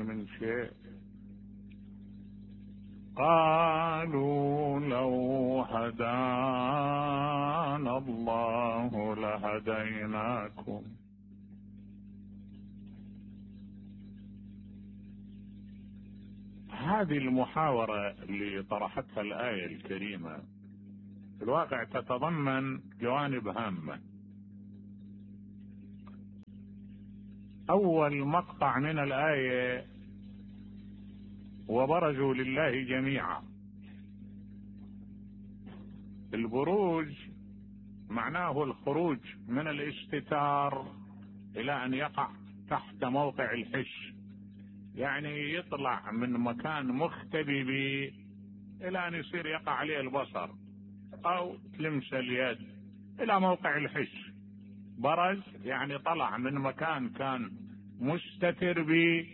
من شيء. قالوا لو هدانا الله لهديناكم. هذه المحاورة اللي طرحتها الآية الكريمة في الواقع تتضمن جوانب هامة. أول مقطع من الآية: وبرزوا لله جميعا. البروج معناه الخروج من الاستتار إلى أن يقع تحت موقع الحش، يعني يطلع من مكان مختبئ به إلى أن يصير يقع عليه البصر أو تلمس اليد إلى موقع الحش. برز يعني طلع من مكان كان مستتر به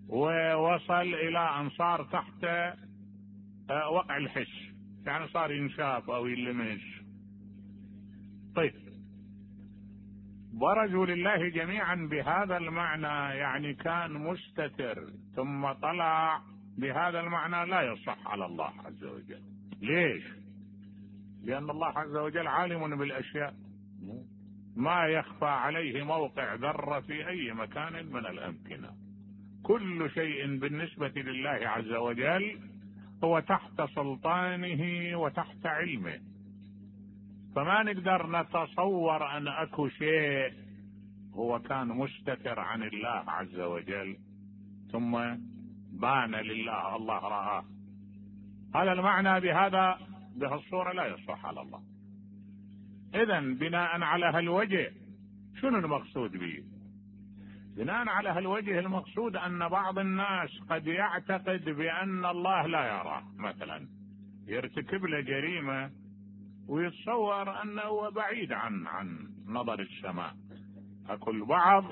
ووصل إلى أن صار تحت وقع الحش، يعني صار ينشاف أو يلمش. طيب، برزوا لله جميعا بهذا المعنى يعني كان مستتر ثم طلع، بهذا المعنى لا يصح على الله عز وجل. ليش؟ لأن الله عز وجل عالم بالأشياء، ما يخفى عليه موقع ذرة في أي مكان من الأمكنة. كل شيء بالنسبة لله عز وجل هو تحت سلطانه وتحت علمه، فما نقدر نتصور أن أكو شيء هو كان مستتر عن الله عز وجل ثم بان لله، الله رآه. هذا المعنى بهذا بهالصورة لا يصح على الله. إذن بناء على هالوجه شنو المقصود به؟ بناء على هالوجه المقصود أن بعض الناس قد يعتقد بأن الله لا يراه، مثلا يرتكب له جريمة ويتصور أنه بعيد عن نظر السماء. أكو البعض،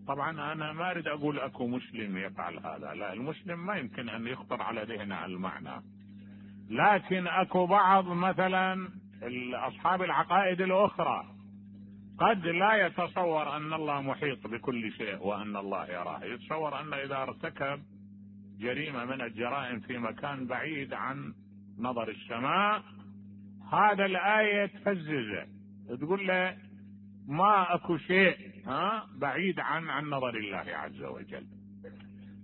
طبعا أنا ما أريد أقول أكو مسلم يفعل هذا، لا، المسلم ما يمكن أن يخطر على ذهنه المعنى، لكن أكو بعض مثلا أصحاب العقائد الأخرى قد لا يتصور أن الله محيط بكل شيء وأن الله يراه، يتصور أن إذا ارتكب جريمة من الجرائم في مكان بعيد عن نظر السماء هذا الآية تفززه، تقول له ما أكو شيء بعيد عن نظر الله عز وجل.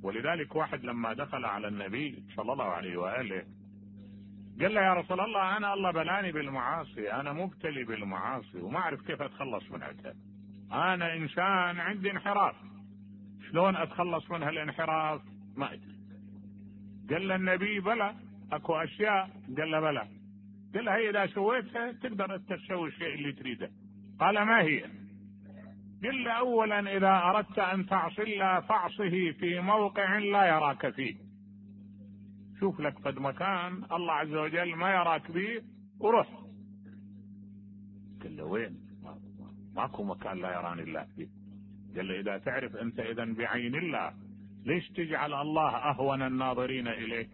ولذلك واحد لما دخل على النبي صلى الله عليه وآله قال له: يا رسول الله، أنا الله بلاني بالمعاصي، أنا مبتلي بالمعاصي وما أعرف كيف أتخلص منها، أنا إنسان عندي انحراف، شلون أتخلص من هالانحراف؟ ما أدري. قال له النبي: بلى، أكو أشياء. قال له: بلى. قال له: هي إذا سويتها تقدر تسوي الشيء اللي تريده. قال: ما هي؟ قال له: أولا إذا أردت أن تعصي الله فاعصه في موقع لا يراك فيه، شوف لك قد مكان الله عز وجل ما يراك به وروح. قال له: وين؟ ماكو مكان لا يراني الله فيه. قال له: إذا تعرف أنت إذن بعين الله ليش تجعل الله أهون الناظرين إليك؟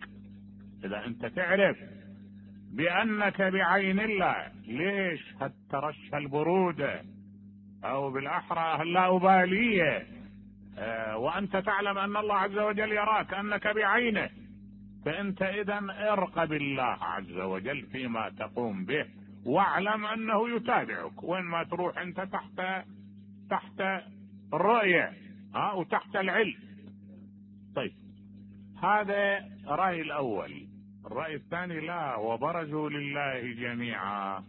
إذا أنت تعرف بأنك بعين الله ليش هالترشح البرودة أو بالأحرى اللاؤبالية وأنت تعلم أن الله عز وجل يراك أنك بعينه؟ فأنت إذن ارقب الله عز وجل فيما تقوم به واعلم أنه يتابعك وين ما تروح، أنت تحت الرؤية وتحت العلم. طيب، هذا رأي الأول. الرأي الثاني: لا، وبرزوا لله جميعا.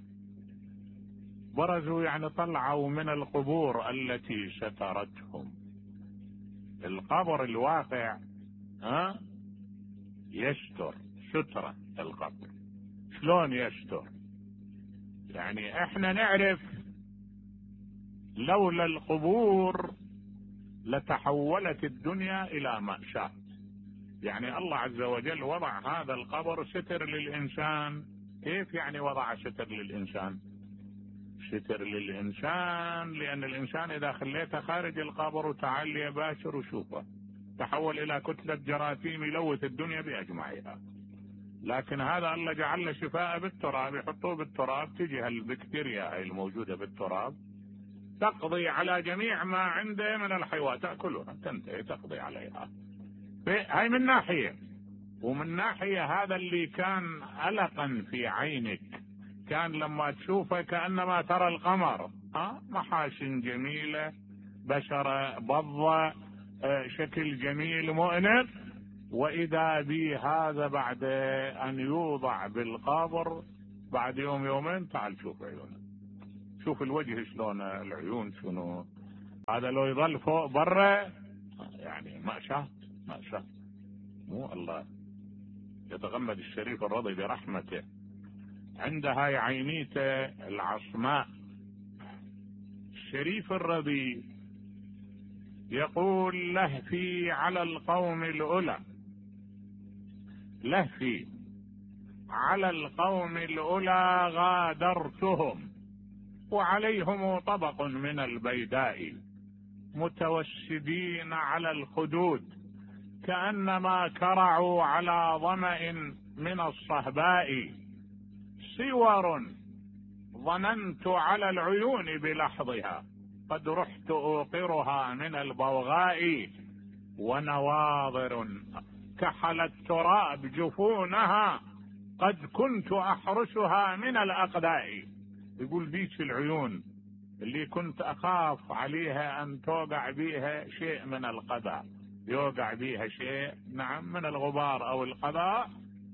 برزوا يعني طلعوا من القبور التي سترتهم. القبر الواقع يستر سترة القبر. شلون يستر؟ يعني احنا نعرف لولا القبور لتحولت الدنيا الى مأساة. يعني الله عز وجل وضع هذا القبر ستر للإنسان. كيف يعني وضع ستر للإنسان؟ ستر للإنسان لأن الإنسان إذا خليته خارج القبر وتعال يباشر وشوفه تحول إلى كتلة جراثيم يلوث الدنيا بأجمعها. لكن هذا الله جعل له شفاء بالتراب، يحطوه بالتراب تجي هالبكتيريا هاي الموجودة بالتراب تقضي على جميع ما عنده من الحيوان، تأكلها تنتهي تقضي عليها هاي من ناحية. ومن ناحية هذا اللي كان ألقا في عينك، كان لما تشوفه كأنما ترى القمر، محاسن جميلة، بشرة بضة، شكل جميل مؤنس. وإذا بي هذا بعد أن يوضع بالقبر بعد يوم يومين، تعال شوف عيونه، شوف الوجه شلون، العيون شنو. هذا لو يظل فوق برا يعني ما شاء مو الله يتغمد الشريف الرضي برحمته عند هاي عينيته العصماء. الشريف الرضي يقول: لهفي على القوم الأولى، لهفي على القوم الأولى غادرتهم، وعليهم طبق من البيداء، متوسدين على الخدود، كأنما كرعوا على ظمأ من الصهباء، صور ظننت على العيون بلحظها، قد رحت أوقرها من البوغاء، ونواظر كحل التراب جفونها، قد كنت أحرسها من الأقداء. يقول ديك العيون اللي كنت أخاف عليها أن توقع بيها شيء من القضاء، يوقع بيها شيء نعم من الغبار أو القضاء،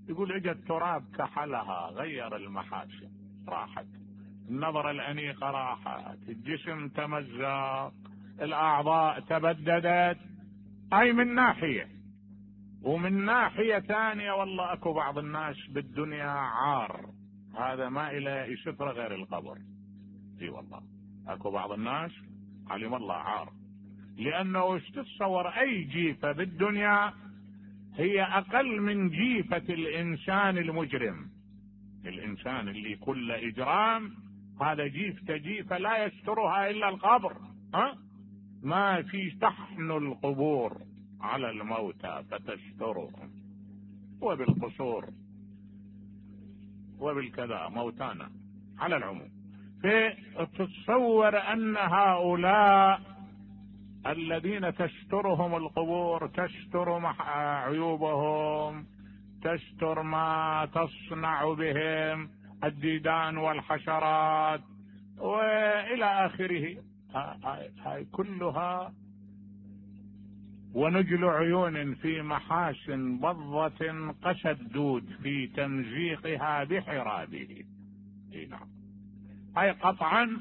يقول اجى التراب كحلها، غير المحاسن، راحت النظرة الأنيقة، راحت الجسم تمزق، الأعضاء تبددت. أي من ناحية. ومن ناحية ثانية والله أكو بعض الناس بالدنيا عار، هذا ما إلى سفرة غير القبر. اي والله أكو بعض الناس علم الله عار، لأنه وش تتصور أي جيفة بالدنيا هي أقل من جيفة الإنسان المجرم. الإنسان اللي كل إجرام هذا جيفة لا يسترها إلا القبر. ما في تحن القبور على الموتى فتسترهم، وبالقصور وبالكذا موتانا على العموم. فتتصور أن هؤلاء الذين تسترهم القبور تستر عيوبهم، تستر ما تصنع بهم الديدان والحشرات وإلى آخره. هاي كلها ونجل عيون في محاسن بضة قسى الدود في تمزيقها بحرابه. نعم، هاي قطعا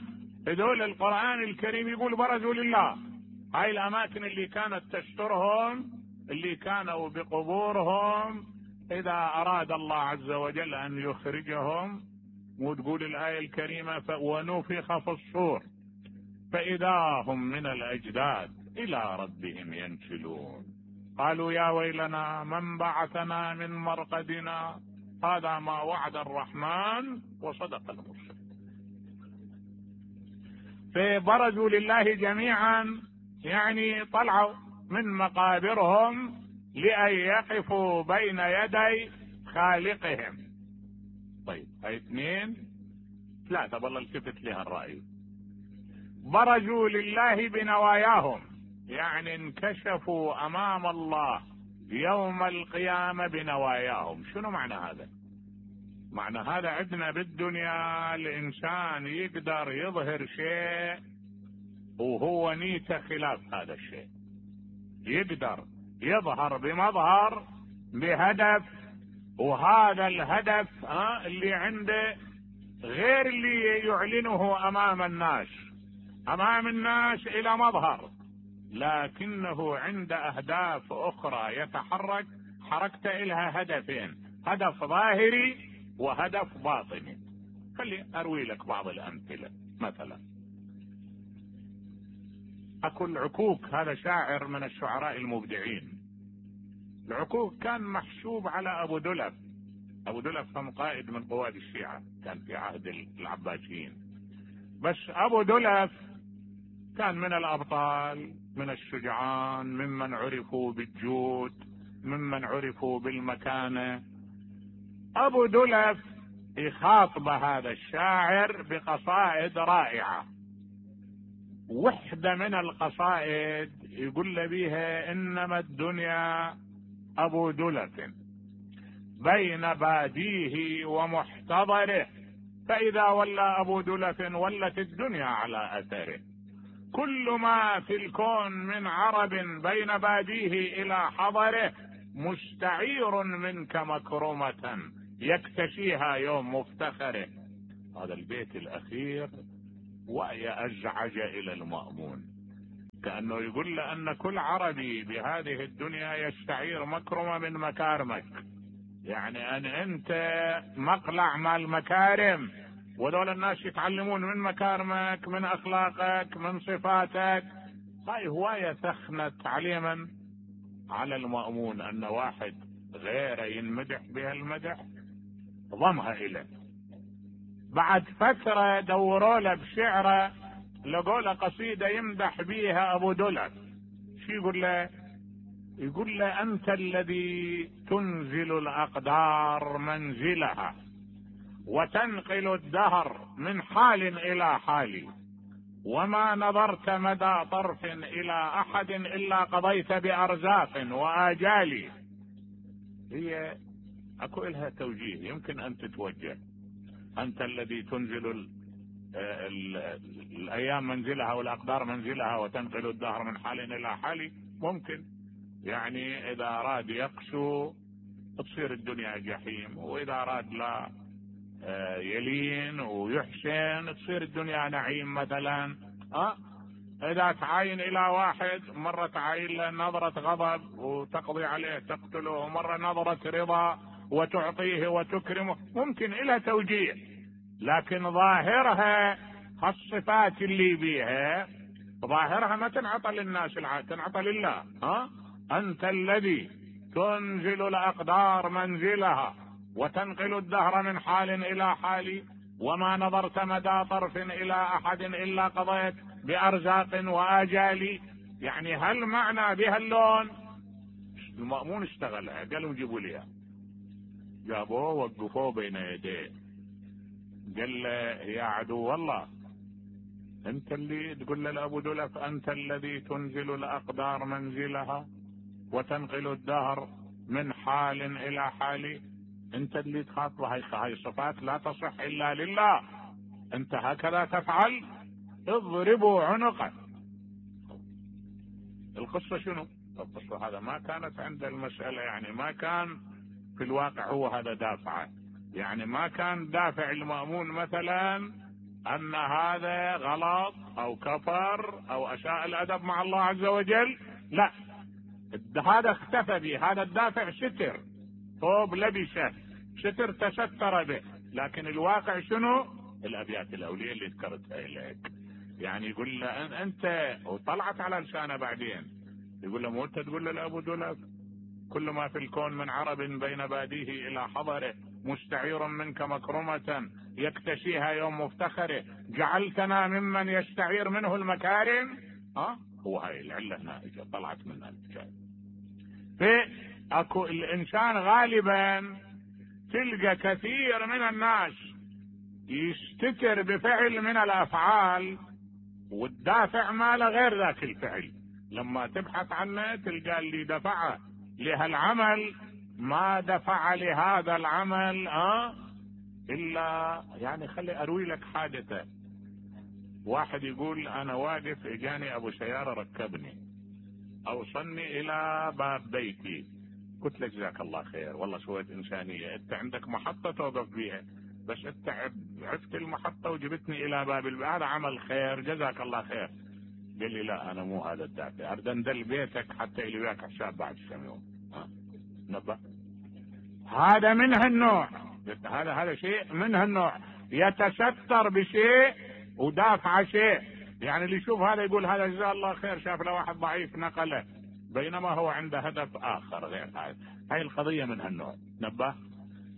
هذول القرآن الكريم يقول برزوا لله. هاي الأماكن اللي كانت تسترهم، اللي كانوا بقبورهم، إذا أراد الله عز وجل أن يخرجهم، وتقول الآية الكريمة: ونفخ في الصور فإذا هم من الأجداث إلى ربهم ينسلون، قالوا يا ويلنا من بعثنا من مرقدنا، هذا ما وعد الرحمن وصدق المرسل. فبرزوا لله جميعا، يعني طلعوا من مقابرهم لأن يقفوا بين يدي خالقهم. طيب هاي 2 3 والله التفت لها الرأي. برزوا لله بنواياهم، يعني انكشفوا أمام الله يوم القيامة بنواياهم. شنو معنى هذا؟ معنى هذا عندنا بالدنيا الإنسان يقدر يظهر شيء وهو نيته خلاف هذا الشيء، يقدر يظهر بمظهر بهدف، وهذا الهدف اللي عنده غير اللي يعلنه أمام الناس. أمام الناس إلى مظهر، لكنه عند أهداف أخرى يتحرك حركته إلها هدفين: هدف ظاهري وهدف باطني. خلي أروي لك بعض الأمثلة. مثلا أكو العكوك، هذا شاعر من الشعراء المبدعين. العكوك كان محسوب على أبو دلف. أبو دلف كان قائد من قواد الشيعة، كان في عهد العباسيين. بس أبو دلف كان من الأبطال، من الشجعان، ممن عرفوا بالجود، ممن عرفوا بالمكانة. أبو دلف يخاطب هذا الشاعر بقصائد رائعة. وحدة من القصائد يقول له بيها: إنما الدنيا أبو دلف بين باديه ومحتضره، فإذا ولى أبو دلف ولت الدنيا على أثره. كل ما في الكون من عرب بين باديه إلى حضره مستعير منك مكرمة يكتشيها يوم مفتخره. هذا البيت الأخير ويأزعج إلى المأمون، كأنه يقول له أن كل عربي بهذه الدنيا يستعير مكرمة من مكارمك، يعني أن أنت مقلع مال مكارم، وذول الناس يتعلمون من مكارمك، من أخلاقك، من صفاتك. هاي هواية ثخنة تعليما على المأمون أن واحد غيره ينمدح بها المدح ضمها إليه. بعد فترة دوروا له بشعره، لقوا له قصيدة يمدح بيها أبو دلف. شو يقول له؟ يقول له: أنت الذي تنزل الأقدار منزلها وتنقل الدهر من حال إلى حال، وما نظرت مدى طرف إلى أحد إلا قضيت بأرزاق وآجال. هي أكو إلها توجيه يمكن أن تتوجه. أنت الذي تنزل الأيام منزلها والأقدار منزلها وتنقل الدهر من حال إلى حال، ممكن يعني إذا أراد يقسو تصير الدنيا جحيم، وإذا أراد لا يلين ويحسن تصير الدنيا نعيم مثلا. إذا تعاين إلى واحد مرة تعاين له نظرة غضب وتقضي عليه تقتله، ومرة نظرة رضا وتعطيه وتكرمه، ممكن إلى توجيه، لكن ظاهرها الصفات اللي بيها ظاهرها ما تنعطى للناس، تنعطى لله. أنت الذي تنزل الأقدار منزلها وتنقل الدهر من حال إلى حال، وما نظرت مدى طرف إلى أحد إلا قضيت بأرزاق وآجال. يعني هل معنى بها اللون؟ المأمون اشتغلها، قالوا جيبوا لي، جابوه وقفوه بين يديه، قال له: يا عدو الله، انت اللي تقول لأبو دلف أنت الذي تنزل الأقدار منزلها وتنقل الدهر من حال إلى حال، انت اللي تخاطبه. هاي صفات لا تصح إلا لله، انت هكذا تفعل، اضربوا عنقه. القصة شنو؟ القصة هذا ما كانت عند المسألة، يعني ما كان في الواقع هو هذا دافعه، يعني ما كان دافع المأمون مثلا أن هذا غلط أو كفر أو أساء الأدب مع الله عز وجل، لا، هذا اختفى به، هذا الدافع ستر، ثوب لبسه، ستر تستر به. لكن الواقع شنو؟ الأبيات الأولية اللي ذكرتها إليك، يعني يقول له أنت، وطلعت على لسانه بعدين، يقول له: مو أنت تقول له لأبو دلف كل ما في الكون من عرب بين باديه إلى حضره مستعير منك مكرمة يكتشيها يوم مفتخره، جعلتنا ممن يستعير منه المكارم. هو هاي العلة هنا طلعت منها الحكاية. اكو الانسان غالبا تلقى كثير من الناس يستتر بفعل من الافعال والدافع ماله غير ذاك الفعل، لما تبحث عنه تلقى اللي دفعه لهالعمل ما دفع لهذا العمل الا، يعني خلي اروي لك حادثة. واحد يقول: انا واقف اجاني ابو سيارة ركبني اوصلني الى باب بيتي، قلت له: جزاك الله خير، والله سويت انسانية، انت عندك محطة توقف بيها، بس انت عرفت المحطة وجبتني الى باب هذا عمل خير، جزاك الله خير. قال لي: لا، انا مو هذا الدافع، اريد اندل بيتك حتى اللي وياك حساب بعد كم يوم. نبه، هذا من هالنوع، هذا شيء من هالنوع، يتستر بشيء ودافع شيء. يعني اللي يشوف هذا يقول هذا جزاه الله خير، شاف له واحد ضعيف نقله، بينما هو عنده هدف اخر غير هذا. هاي القضية من هالنوع. نبه،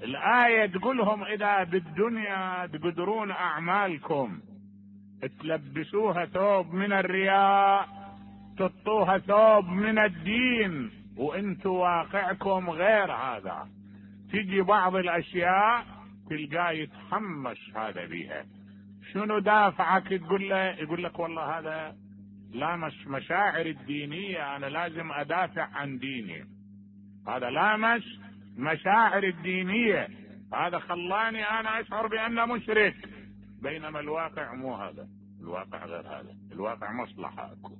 الآية تقولهم: إذا بالدنيا تقدرون أعمالكم تلبسوها ثوب من الرياء، تطوها ثوب من الدين، وانتوا واقعكم غير هذا. تجي بعض الاشياء تلقاه يتحمس هذا بيها. شنو دافعك؟ تقول له، يقول لك: والله هذا لامس مشاعر الدينية، انا لازم ادافع عن ديني. هذا لامس مشاعر الدينية، هذا خلاني انا اشعر بانه مشرك، بينما الواقع مو هذا، الواقع غير هذا، الواقع مصلحة اكو.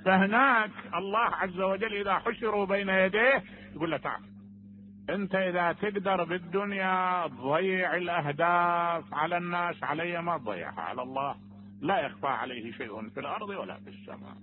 فهناك الله عز وجل اذا حشروا بين يديه يقول له تعال انت اذا تقدر بالدنيا تضيع الاهداف على الناس، علي ما تضيعها على الله، لا يخفى عليه شيء في الارض ولا في السماء.